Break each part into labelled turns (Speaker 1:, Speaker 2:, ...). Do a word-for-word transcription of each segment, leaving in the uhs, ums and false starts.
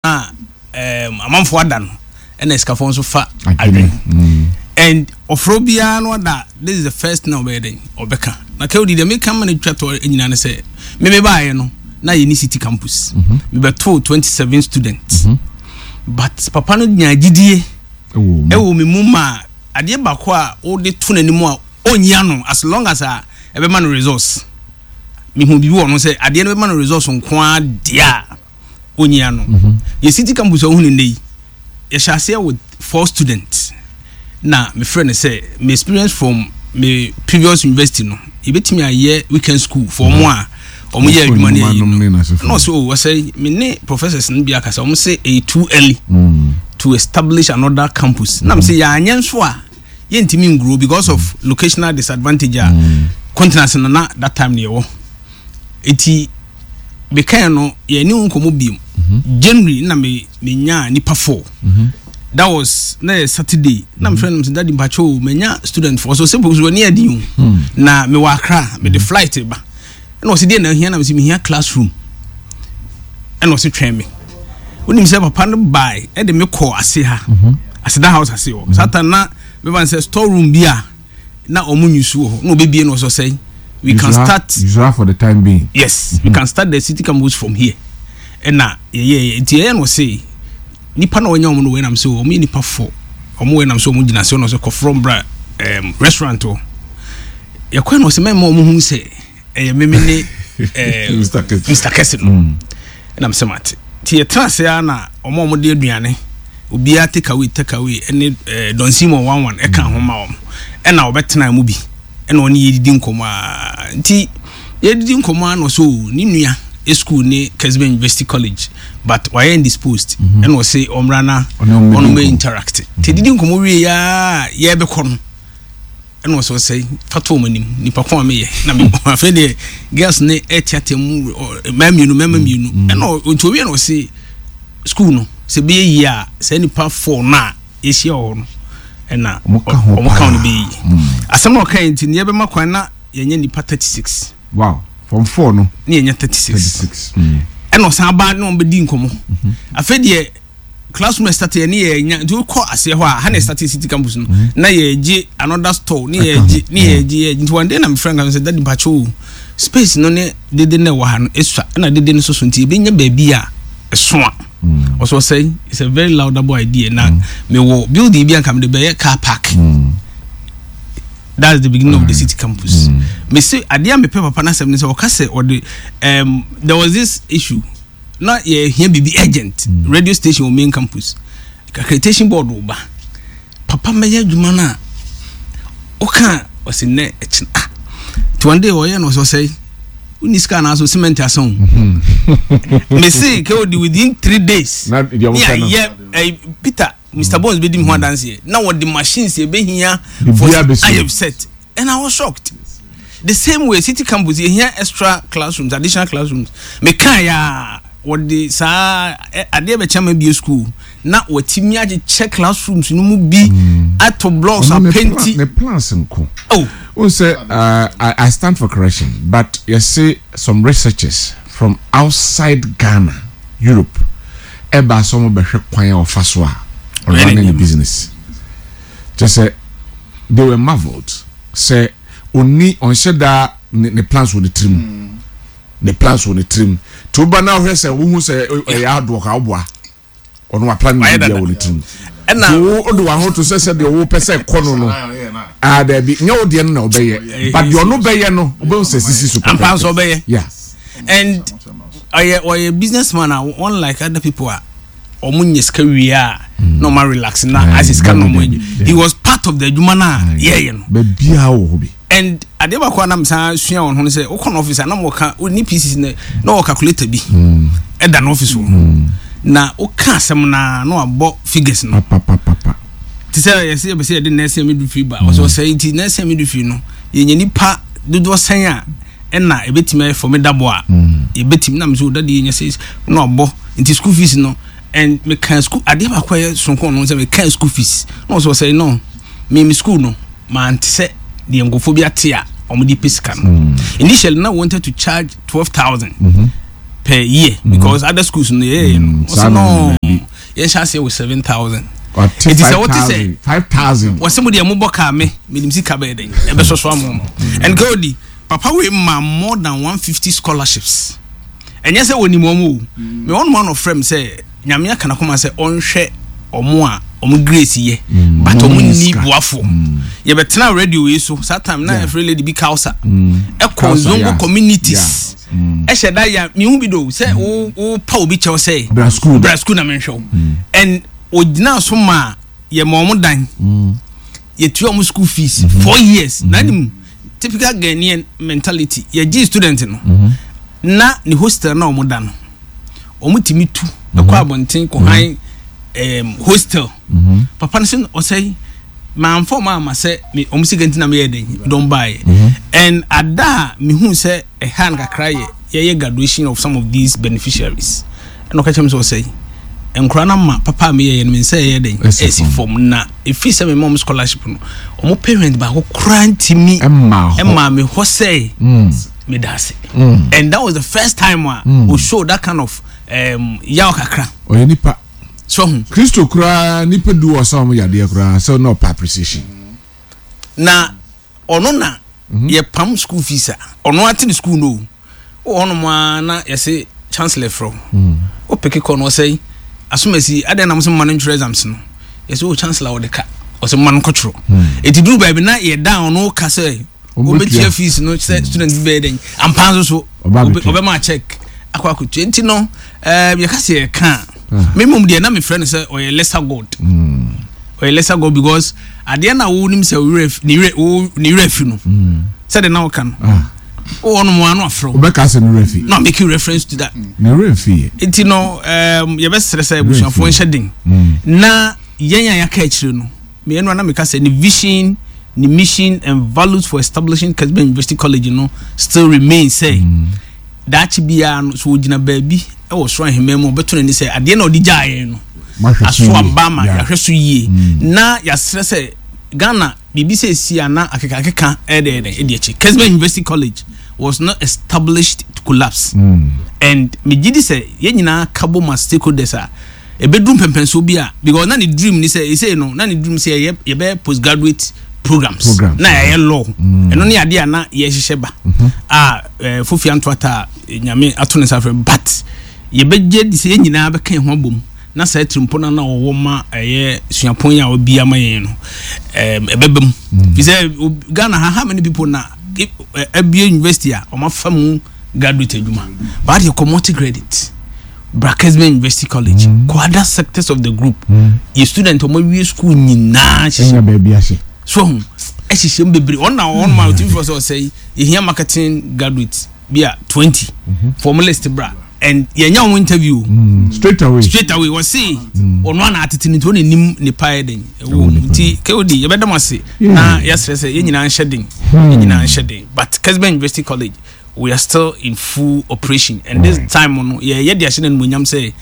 Speaker 1: A um, amanfoɔ ada no, ɛna sikafoɔ nso fa adwene mm. And ɔfrɛ biara no ada. This is the first thing a ɔbɛyɛ dɛn ɔbɛka na kɛwdi deɛ meka ma no twa tɔ nyinaa ne sɛ meme baeɛ no na yɛni city campus, mhm. mebɛtoo twenty-seven students mm -hmm. But papa no nya gyidie ɛwɔ me mu ma adeɛ baako a wode to n'anim a ɔnyi ano, as long as a ɛbɛma no resource. Mehu biribi wɔ no sɛ adeɛ no bɛma no resource nko ara deɛ a ɔnyi ano. Yɛ city campus a wohunu nnɛ yi, yɛhyɛ aseɛ with four students na mefrɛ no sɛ me experience from me previous university no, yɛbɛtumi ayɛ weekend school for ɔmo a ɔmo yɛ adwuma no ayi no. Na ɔsɛ o wɔsɛ me ne professors no bi akasa, ɔmo sɛ ɛyɛ too early mm. to establish another campus. Na me sɛ yɛanyɛ nso a yɛntumi ngrow because of locational disadvantage a mm. continent no na that time ne yɛwɔ. Eti mekae no, yɛne wo nkɔmmɔ biom mhm. January na me menyaa nipa four mm -hmm. That was na yɛ Saturday na mefrɛ no sɛ, "Daddy, mpakyɛ o, manya student four." So sɛ so ani adi o hmm. Na mewɔ Akra, mede hmm. flight ba. Ɛna ɔsɛ deɛ na ahia na mesɛ mehia classroom. Ɛna ɔsɛ twɛn me. Wonim sɛ papa no bae ɛde me kɔ ase ha mhm. Aseda House ase hɔ satan na meba sɛ store room bi a na ɔmo nyusu wɔ hɔ na ɔbɛbie no, ɔsɔ sɛ we can start.
Speaker 2: Use for the time being.
Speaker 1: Yes mm -hmm. We can start the city campus from here. Ɛna yɛyɛ nti yɛyɛ no, ɔse nipa na ɔnya ɔmo no wɔ ɛnam sɛ ɔmo yɛ nipa fo ɔmo wɔ ɛnam sɛ ɔmo gyina se ɔno sɛ kɔforɔ mbra ɛɛm restaurant hɔ. Yɛkɔ na ɔsɛ mɛma ɔmo hu sɛ ɛyɛ meme ne ɛɛ Mister Kɛse no. Ɛnam sɛ mate nti yɛtena ase ara na ɔmo a ɔmo de aduane obiara take away, take away ɛne ɛɛ Don Simon one one ɛka ho ma wɔn. Ɛna ɔbɛtena mu bi ɛna ɔne yɛdidi nkɔmɔ aa. Nti yɛdidi nkɔmɔ a na ɔsɛ o ne nua school ne Kesben University College, but wayɛ indisposed. Ɛna ɔsɛ ɔmmra na ɔno mɛ interact. Nti yɛdidi nkɔmɔ wie yaa yɛbɛkɔ no, ɛna ɔsɛ ɔsɛ fa to wɔn anim nipa ko a meyɛ na me afei deɛ girls ne ɛteatea mu, mmaa mmienu, mmarima mmienu. Ɛna nti owie na ɔsɛ school no sɛ bɛyɛ yie a, saa nipa four no a yɛhyia wɔ hɔ no ɛna
Speaker 2: ɔmo ka ho.
Speaker 1: Ɔmo ka ho no bɛyɛ yie. Asɛm na ɔka yɛ nti ne yɛbɛma kwan na yɛnyɛ nipa thirty six.
Speaker 2: Wow, from four no.
Speaker 1: Ne yɛnyɛ thirty six. Ɛna ɔsan ba ne wɔn bɛdi nkɔmɔ. Afei deɛ classroom start yɛ ne yɛ nya. Nti wokɔ aseɛ hɔ a ha na start city campus no na yɛgye another store ne yɛgye ne yɛgye yɛgye. Nti one day na mefrɛ nka sɛ, "Daddy, mpakyɛ o, space no ne dede na ɛwɔ ha no esua ɛna dede no soso, nti ebɛnya baabi a ɛso a." Ɔsɔ sɛ it's a very laudable idea na mewɔ building bi anka mede bɛyɛ car park. That's the beginning mm. of the city campus. Mm. Me say adeɛ a mepɛ papa n'asɛm ne sɛ ɔka sɛ ɔde um, there was this issue na yɛhia biribi urgent mm. radio station wɔ main campus, accreditation board wɔ ba. Papa mɛyɛ adwuma no a ɔka ɔsi nnɛ ɛkyina. Ah, nti one day ɔyɛ no, ɔsɛ ɔsɛ wonni sika anaasɛ cement asa o. Me se kɛ ɔdi within three days ne ayɛ eh, Peter, Mister Bones bɛdi mi ho adanseɛ na wɔde machines ɛbɛhia for ayɛ set, and I was shocked. The same way city campus yɛhia extra classrooms, additional classrooms, meka ya wɔde saa adeɛ bɛkyɛ ma bie school na wɔatumi akyekyɛ classrooms no mu bi ato blocks apenti.
Speaker 2: Ne plans nko. Oh, o sɛ uh, I, I stand for correction, but yɛse some researchers from outside Ghana, Europe, ɛba sɛ ɔmo bɛhwɛ kwan a ɔfa so a ɔrun ne business kyɛ sɛ they were marvelled sɛ oni ɔnhyɛ daa ne ne plans wɔ ne tirim, ne plans wɔ ne tirim. Tí o ba na ɔhwɛ sɛ wohu sɛ ɛyɛ adoɔ ka ɔboa ɔno wa plan ne bia wɔ ne tirim.
Speaker 1: Ɛna
Speaker 2: tí o o de wa ho to sɛ sɛ deɛ ɔwɔ pɛ sɛ kɔ no no aa dɛbi nyɛ o deɛ no na ɔbɛyɛ, but deɛ ɔno bɛyɛ no ɔbɛn sɛ sisi so.
Speaker 1: Ampa nso ɔbɛyɛ.
Speaker 2: Yeah.
Speaker 1: And ɔyɛ ɔyɛ business man a unlike other people a ɔmo nyɛ sika wie a na ɔmo relax na asɛ sika na ɔmo enjoy. He was part of the adwuma na yɛyɛ no.
Speaker 2: Baabiara wɔ hɔ bi.
Speaker 1: And adeɛ baako a nam san sua wɔn ho no sɛ wokɔ no office a na wɔka ne P C na na wɔ calculator bi ɛda no office hɔ na woka asɛm na na wabɔ figures no
Speaker 2: papapapa.
Speaker 1: Te sɛ yɛsɛ yɛbɛ sɛ yɛde nursing midwifery ba, ɔsɛ ɔsɛ nti nursing midwifery no yɛnya nipa dodoɔ sɛn a ɛna ebɛtumi ayɛ formidable a yɛbɛtumi nam so dade yɛnya sɛ na wabɔ nti school fees no. And meka school adeɛ baako a ɛyɛ sonko no sɛ meka school fees na ɔsɛ ɔsɛ no me me school no mante sɛ deɛ nkurɔfoɔ bi ate a wɔn de pɛ sika no. Initially na wanted to charge twelve thousand mm -hmm. per year mm -hmm. because other schools no yɛ no ɔsɛ no yɛn hyɛ aseɛ wɔ seven thousand.
Speaker 2: Ɔte five thousand five thousand.
Speaker 1: Wɔsɛ mo deɛ mo bɔ kaa me menim sika bɛyɛ dɛn ɛbɛsɔ so ama mo. And Kodi papa wei ma more than one fifty scholarships. Ɛnyɛ sɛ wɔnim wɔn o. Me wɔn mo ano frɛ m sɛ Nyame aka n'akoma sɛ ɔnhwɛ ɔmo a ɔmo grace yɛ mm. but ɔmo nni boafo. Yɛbɛtena radio wei so saa time na yɛfrɛ lady bi Kausa ɛkɔ Zongo communities ɛhyɛ da ya mehu bi do sɛ wo wo pa obi kyɛw sɛ
Speaker 2: bra school
Speaker 1: bra school na menhwɛ wo and ogyina so ma yɛ ma ɔmo dan yɛtua ɔmo school fees mm -hmm. four years mm -hmm. na nim typical Ghanaian mentality yɛgye student no mm -hmm. na ne hostel na ɔmo da no ɔmo tumi tu ɛkɔ abɔnten kɔ han um, hostel mm -hmm. papa no sɛ ɔsɛ manfa ɔmo ama sɛ ɔmo sika nti na meyɛ dɛn dɔn baeɛ and ada a mehu sɛ ɛha no kakra yɛ yɛyɛ graduation of some of these beneficiaries ɛna ɔka kyerɛ me sɛ ɔsɛ nkora no ma papa a meyɛyɛ no me nsa ɛyɛ dɛn ɛsi fam na ɛfiri sɛ mema ɔmo scholarship no ɔmo parent baako koraa ntimi ɛma me hɔ sɛ meda ase. And that was the first time a o show that kind of um, yaw kakra.
Speaker 2: Ɔyɛ nipa.
Speaker 1: So ho.
Speaker 2: Kristo koraa nipa du wɔ sɛ ɔmo yadeɛ koraa sɛ na ɔpɛ appreciation.
Speaker 1: Na ɔno na yɛ pam school fees a ɔno ate ne school no o wɔ hɔnom a na yɛse chancellor frɛ o peke kɔ no ɔsɛ asomasi adɛn na mo sɛ mma no ntwerɛ exams no yɛsɛ o chancellor wɔde ka ɔsɛ mma no nkɔtwerɛ ɛti duru baabi na yɛda ɔno ka sɛ wobɛtua fees no sɛ student bi bɛyɛ dɛn ampa nso so ɔbɛma check akɔ akɔtua nti no yɛka sɛ yɛka a me mmom deɛ na mefrɛ no sɛ ɔyɛ lesser god ɔyɛ lesser god because adeɛ na wonim sɛ ne werɛ fi no sɛde na woka no wowɔ no mu ano afrɛ
Speaker 2: wobɛka sɛ ne werɛ fi
Speaker 1: no make reference to that
Speaker 2: ne werɛ fi yɛ
Speaker 1: nti no yɛbɛsrɛ sɛ abusuafoɔ nhyɛ den na yɛn a yɛaka akyire no meyɛ no na meka sɛ ne vision ne mission and values for establishing Kesben University College no still remain sɛ daakye biara no so ogyina baabi ɛwɔ soro ahemman mu ɔbɛto n'ani sɛ adeɛ na ɔde gyaa yɛn no aso aba ma yɛahwɛ so yie na yɛasrɛ sɛ Ghana biribi sɛ esi ana akekakeka ɛdɛɛdɛ ɛdi akyi. Kesben University College was not established to collapse mm. and megye di sɛ yɛn nyinaa ka bɔ ma stakeholders a ɛbɛduru mpɛmpɛnsoɔ bi a because na ne dream ni sɛ ɛsɛ no na ne dream sɛ yɛyɛ yɛbɛyɛ postgraduate programs
Speaker 2: Programs,
Speaker 1: na yɛyɛ law ɛno ne adeɛ a na yɛhyehyɛ ba a eh, Fofi Antoata a Nyame ato ne nsa frɛ but yɛbɛgye di sɛ yɛn nyinaa bɛka yɛn ho abom na saa tirimpo no na ɔwɔ ma ɛyɛ suapɔn yi a ɔbi ama yɛn no ɛm, ɛbɛba mu fi sɛ Ghana ha how many people na abie university a ɔma fa mu graduate adwuma but yɛ kɔ multi credit bra Kesben University College mm. kɔ other sectors of the group mm. yɛ student ɔmo awie school nyinaa
Speaker 2: hyehyɛ baabi ahyɛ
Speaker 1: so ho ɛhyehyɛ mu bebree ɔno na ɔno ma ɔtumi fɔ sɛ ɔsɛ yɛhia marketing graduate bi a twenty form list bra and yɛnya wɔn interview
Speaker 2: mm. straight away
Speaker 1: straight away wɔsi ɔno ana atete ne nti ɔna nim nipa yɛ den ɛwɔ mu nti K O D yɛbɛda mo ase na yɛsrɛ sɛ yɛn nyinaa nhyɛ den yɛn nyinaa nhyɛ den but Kesben University College, we are still in full operation and this time no yɛyɛ de ahyɛ n'animonyam sɛ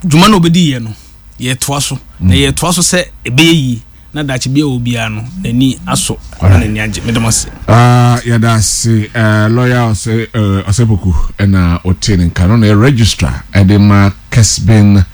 Speaker 1: dwuma na obɛdi yɛ no yɛtoa so na yɛtoa so sɛ ɛbɛyɛ yie na daakye bi a wɔ biara no n'ani asɔ na n'ani agye. Meda mo ase.
Speaker 2: Uh, yɛda ase uh, lawyer ɔsɛ uh, Ɔsɛpoku ɛna ɔte ne nka no na yɛ registrar ɛde ma Kesben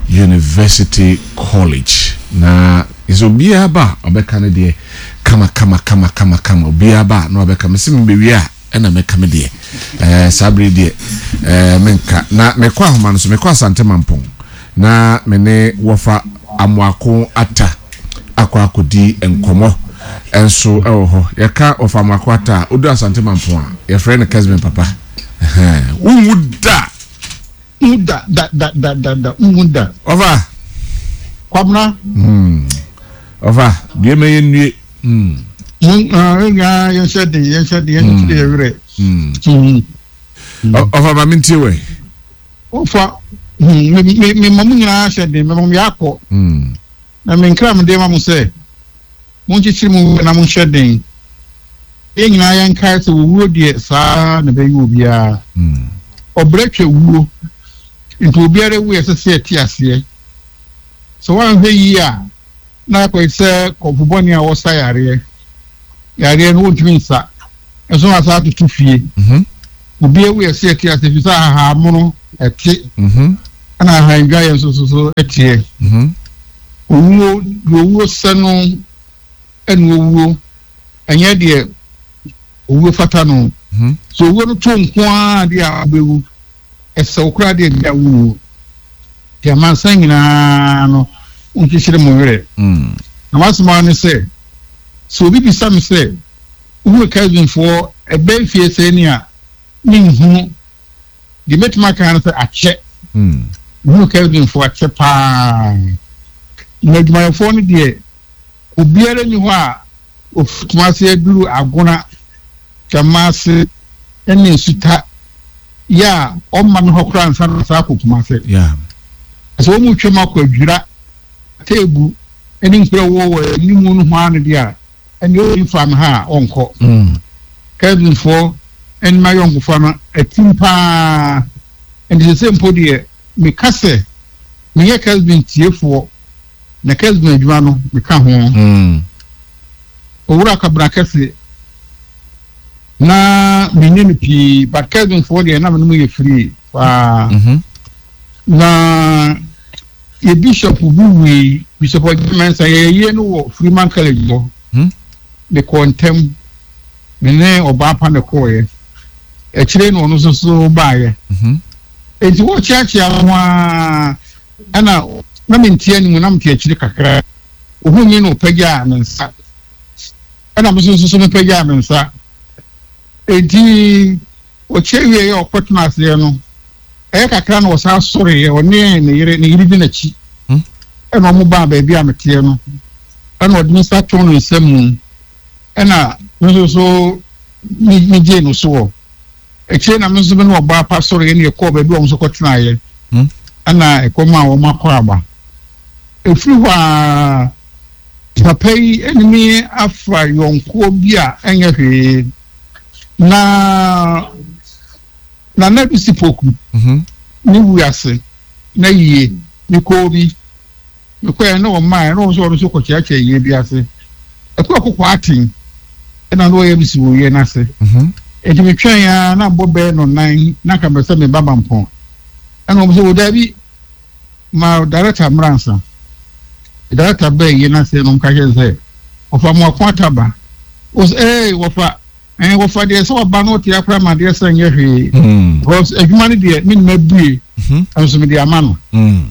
Speaker 2: University College na sɛ obiara ba a ɔbɛka no deɛ kama kama kama kama kama obiara ba a na ɔbɛka me sɛ mebɛwie a ɛna mɛka me deɛ ɛɛ saa bere deɛ ɛɛ menka na mekɔ ahoma no so mekɔ Asante Mampɔn na me ne wɔfa Amoako Ata akɔ akɔdi nkɔmmɔ ɛnso ɛwɔ hɔ. Yɛka wɔfa Amoako Ata a odu Asante Mampɔn a yɛfrɛ no Kesben papa. Ɛhɛn wonwu da.
Speaker 3: Nhu da da da da da da nhu da.
Speaker 2: Ɔfa.
Speaker 3: Kwabena.
Speaker 2: Hmm. Ɔfa dua ma yɛn nue. Hmm.
Speaker 3: Mo ah yɛn yɛn hyɛ den yɛn hyɛ den yɛn kyerɛ yɛn werɛ.
Speaker 2: Hmm. Ɔfa ma mi ntie wɛ.
Speaker 3: Ɔfa hmm me me me ma mo nyinaa hyɛ den me ma mo yɛ akɔ.
Speaker 2: Hmm.
Speaker 3: Na me nkira mo de ma mo sɛ mo nkyekyere mo werɛ na mo nhyɛ den. Yɛn nyinaa yɛn kae sɛ owuo deɛ saa na ɛbɛyɛ obiara.
Speaker 2: Hmm.
Speaker 3: Ɔbrɛ twa wuo nti obiara wu yɛ sɛ sɛ ɛte aseɛ. Sɛ woanhwɛ yie a na akɔyɛ sɛ kɔmfo bɔne a wɔsa yareɛ yareɛ no wontumi nsa ɛso asa atoto fie.
Speaker 2: Mm-hmm.
Speaker 3: Obi ewu yɛ sɛ ɛte ase fi sɛ ahahammono ɛte
Speaker 2: Mhm.
Speaker 3: ɛna ahandwa yɛ nso so so ɛteɛ.
Speaker 2: Mhm.
Speaker 3: Owuo deɛ owuo sɛ no ɛna owuo ɛnyɛ deɛ owuo fata no.
Speaker 2: Mhm.
Speaker 3: So owuo no to nko ara deɛ a wobɛwu ɛsɛ wo koraa deɛ bi a wonwu. Deɛ amansan nyinaa no wonkyekyere mo werɛ.
Speaker 2: Mm.
Speaker 3: Na m'asɛm ara ne sɛ sɛ obi bisa me sɛ wohunu Kelvinfoɔ ɛbɛn fie sɛ ni a menhunu deɛ mɛtumi aka no sɛ akyɛ.
Speaker 2: Mm.
Speaker 3: Mehunu Kelvinfoɔ akyɛ paa. Na adwumayɛfoɔ no deɛ obiara nni hɔ a ofiri Kumase aduru Agona, Twamase ne Nsuta yɛ a ɔmma me hɔ koraa ansa na saa akɔ Kumase.
Speaker 2: Yeah.
Speaker 3: Sɛ wɔn mu twam akɔ Adwira, Teebu ne nkuro a ɛwɔ wɔ anim no ho ara no deɛ a ɛnneɛ ɔnni mfaa me ha a ɔnkɔ.
Speaker 2: Mm.
Speaker 3: Kelvinfoɔ ne m'ayɔnkofa no atim paa. Nti sɛ mpo deɛ meka sɛ meyɛ Kelvin tiefoɔ na Kelvin adwuma no meka ho.
Speaker 2: Mm.
Speaker 3: Owura Kabena Kɛse na menni no pii but Kelvinfoɔ deɛ na me ne mu yɛ free paa.
Speaker 2: Mhm.
Speaker 3: Na yɛ bishop bi wui, Bishop Ɔgye Mensah, yɛyɛ no wɔ Freeman College hɔ.
Speaker 2: Mhm.
Speaker 3: Mekɔɔ ntɛm, me ne ɔbaa pa na kɔɔeɛ. Akyire na ɔno nso so baeɛ.
Speaker 2: Mhm.
Speaker 3: Enti wɔkyeakyea ho ara ɛna na mente anim na mete akyire kakra. Ohuu me na ɔpagyaa ne nsa. Ɛna me nso so mepagyaa me nsa. Enti ɔkyia wieeɛ a ɔkɔtena aseɛ no, ɛyɛ kakra na ɔsan sɔreeɛ, ɔne ne yere, ne yere di n'akyi.
Speaker 2: Mm.
Speaker 3: Ɛna ɔmo baa baabi a meteɛ no, ɛna ɔde ne nsa too ne nsa mu, ɛna me nso so me megyee no soɔ. Akyire na me nso me ne ɔbaa pa sɔreeɛ na yɛkɔɔ baabi a ɔmo nso kɔtenaeɛ.
Speaker 2: Mm.
Speaker 3: Ɛna ɛkɔm a wɔn akɔ aba. Ɛfiri hɔ a papa yi ne me afa yɔnkoɔ bi a ɛnyɛ hwee. Na Nana Bisi Poku
Speaker 2: Mhm.
Speaker 3: ne wiase na yie mekɔɔ bi mekɔɛ na ɔmaa na ɔno nso ɔno nso kɔkyeakyea yie bi ase. Ɛkɔ ɛkɔkɔ aten ɛna na ɔyɛ bisi wɔ yie n'ase.
Speaker 2: Mhm.
Speaker 3: Enti metwɛn a na mbɔ bɛyɛ no nan na nka mɛ sɛ meba Mampɔn. Ɛna wɔn sɛ wɔ daabi ma director mmra nsa. Director bɛɛ yie n'ase na wɔn ka kyerɛ sɛ wɔfa mo ako ataba. Wɔsɛ ee wɔfa ɛn wɔfa deɛ sɛ wɔba no ɔte akora ma deɛ sɛ nyɛ hwee.
Speaker 2: Mm.
Speaker 3: Because adwuma no deɛ me nima bue
Speaker 2: Mhm.
Speaker 3: nso mede ama no.
Speaker 2: Mm.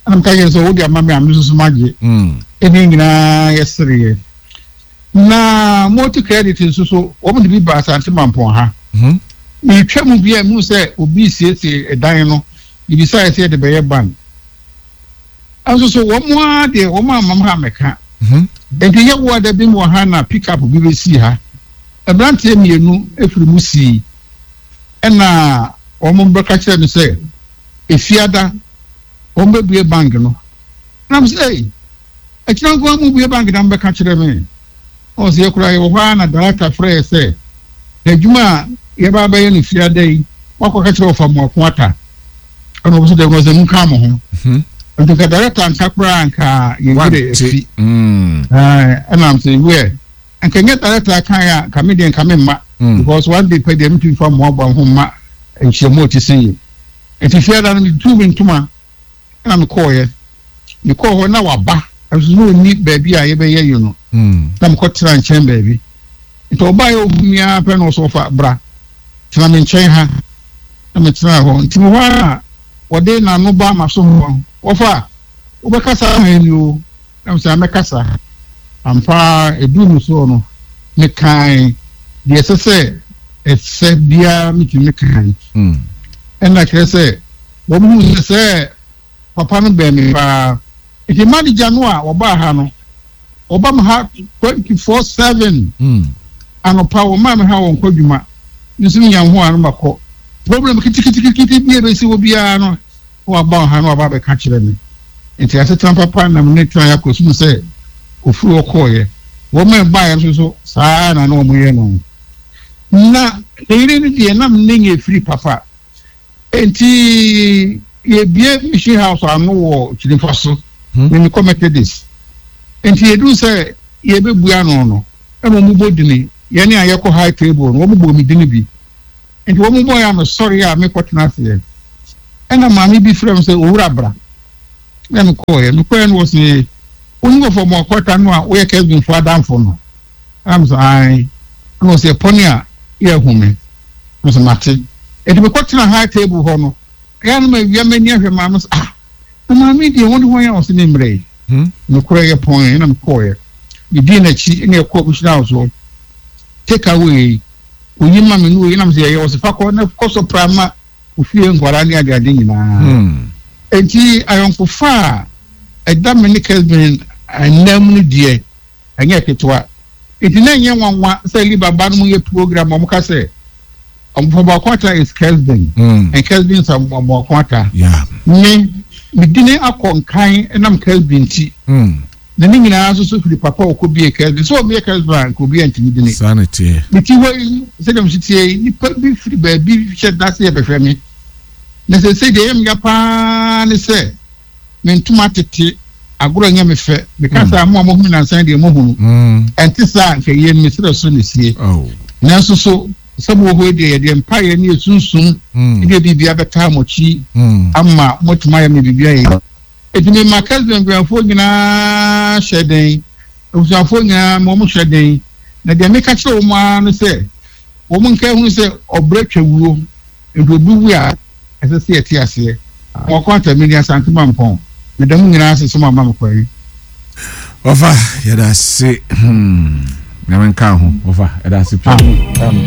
Speaker 3: Ɛna meka kyerɛ sɛ wode ama me a me nso so magye.
Speaker 2: Mm.
Speaker 3: Ɛne nyinaa yɛsereɛ. Na multi credit nso so wɔn de bi ba Asante Mampɔn ha.
Speaker 2: Mhm.
Speaker 3: Metwa mu bi a mehu sɛ obi siesie ɛdan no ebisaeɛ sɛ yɛde bɛyɛ ban. Nso so wɔn ara deɛ wɔn amam ha mɛka.
Speaker 2: Mhm.
Speaker 3: Nti yɛ wo ada bi mu wɔ ha na pickup bi bɛsii ha. Mmeranteɛ mmienu efiri mu sii ɛna wɔn bɛka kyerɛ me sɛ efiada wɔn bɛbue bank no. Na mo sɛ ɛy akyina nko ara mu bue bank na mo bɛka kyerɛ me. Ɔn sɛ yɛkura yɛwɔ hɔ ara na director frɛ yɛ sɛ adwuma a yɛba abɛyɛ no fiada yi wakɔka kyerɛ ɔfa mu ako ata. Ɛna wɔn nso dɛm sɛ nka mo ho.
Speaker 2: Mhm.
Speaker 3: Nti nka director nka koraa nka yɛn werɛ
Speaker 2: Wante.
Speaker 3: afi.
Speaker 2: Mm.
Speaker 3: Ɛɛ ɛna m sɛ wɛ nka nyɛ director kan a nka me deɛ nka me mma.
Speaker 2: Mm.
Speaker 3: Because one day pɛ deɛ metumi fa mmoaboa ho mma nhyiamu a ɔte sɛ yi. Nti fiada no metuu me ntoma ɛna mekɔɔyɛ. Mekɔɔ hɔ na waba nso na ɔnni baabi a yɛbɛyɛ yi no.
Speaker 2: Mm.
Speaker 3: Na mekɔtena nkyɛn baabi. Nti ɔbaa yɛ ohu mi ara pɛ na ɔsɛ ɔfa bra tena me nkyɛn ha na metena hɔ. Nti me hɔ ara wɔde n'ano ba ma so hɔ wɔfa wobɛkasa ama ni o na mesɛ mɛkasa ampa edu no soɔ no mekae deɛ ɛsɛ sɛ ɛsɛ biara metumi mekae.
Speaker 2: Mm.
Speaker 3: Ɛna kyerɛ sɛ wɔn hu sɛ sɛ papa no bɛn me paa. Nti manager no a wɔbaa ha no wɔba me ha twenty four seven.
Speaker 2: Mm.
Speaker 3: Anɔpa wɔmaa me ha wɔn kɔ dwuma nso menya ho a no makɔ problem kitikiti bi a ebesi wɔ biara no na waba ha na waba abɛka kyerɛ me. Nti asetena papa nam ne tena akɔ sum sɛ ofiri hɔ kɔɔyɛ. Wɔn a ɛbaeɛ nso so saa na na wɔn yɛ no. Na ne yere no deɛ nam ne nyɛ firi papa. Nti yɛbie mission house ano wɔ Kyinifa so.
Speaker 2: Hmm.
Speaker 3: Me mekɔ Methodist. Nti yɛduru sɛ yɛbɛbua ano no ɛna wɔn bɔ dini yɛne a yɛkɔ high table no wɔn bɔ mi dini bi. Nti wɔn bɔ yɛ a mesɔre a mekɔtena aseɛ, ɛna maame bi frɛ me sɛ, "Owura, bra." Na mekɔɔyɛ mekɔɔyɛ no, wɔ se wone wɔfɔ Amoako-Attah no a woyɛ Kesbinfo adamfo no? Ɛna me sɛ, "Ae." Ɛna wɔ sɛ ɛpɔne a yɛ hu me. Me sɛ, "Mate." Nti mekɔtena high table hɔ no, ɛyɛ no ma awia m'ani ahwɛ maame sɛ, "Ah, na maame deɛ, wɔne hɔ yɛ?" Wɔ sɛ ne mmerɛ yi nokorɛ yɛ pɔn. Ɛna mekɔɔyɛ, medii n'akyi ɛna ɛkɔɔ mission house hɔ. Take away oyi ma me no, oyi nam sɛ yɛyɛ wɔ sɛ fa kɔ na kɔ so pra ma ofie nkwadaa ne adeade nyinaa. Nti ayɔnkofa a ɛda me ne Kesbin anam no deɛ, ɛnyɛ ketewa. Nti na ɛnyɛ nwanwa sɛ liba ba no mu yɛ program a wɔka sɛ Amoako-Attah is Kesbin
Speaker 2: Mm.
Speaker 3: and Kesbin is Amoako-Attah.
Speaker 2: Yeah.
Speaker 3: Me medini akɔ nkan ɛnam Kesbin ti
Speaker 2: Mm.
Speaker 3: na ne nyinaa nso so firi papa a ɔkɔ bie Kesbin sɛ ɔbie Kesbin a, nka obi antumi dini.
Speaker 2: Saa na teɛ.
Speaker 3: Meti hɔ yi, sɛdeɛ mesi tie yi, nipa bi firi baabi hyɛ da sɛ yɛbɛhwɛ me, na sɛ sɛ deɛ ɛyɛ me ya paa ne sɛ me ntoma tete agorɔ nyɛ me fɛ. Meka sɛ mo a mohu me nansan deɛ, mohunu
Speaker 2: Mm.
Speaker 3: ɛnte saa. Nka yie no, mesrɛ so ne sie.
Speaker 2: Oh.
Speaker 3: Nanso so sɛ mowɔ hɔ yi deɛ, yɛdeɛ mpaeɛ ne yɛsunsum
Speaker 2: Mm.
Speaker 3: ne biribia bɛtaa mo akyi
Speaker 2: Mm.
Speaker 3: ama moatumi ayɛ me biribia yɛ. Ɛnti mema Kesben abusuafoɔ nyinaa hyɛ den, abusuafoɔ nyinaa ma ɔmo hyɛ den. Na deɛ meka kyerɛ wɔn ara no sɛ wɔn nka ehunu sɛ ɔbrɛ twa wuo, nti obi wu a, ɛsɛ sɛ yɛte aseɛ. Wɔkɔ atami ne Asante Mampɔn. Meda mu nyinaa ase sɛ mo ama me kwan.
Speaker 2: Wɔfa, yɛda ase. Hmm. Nyame nka ho. Wɔfa, yɛda ase pii.
Speaker 3: Amen.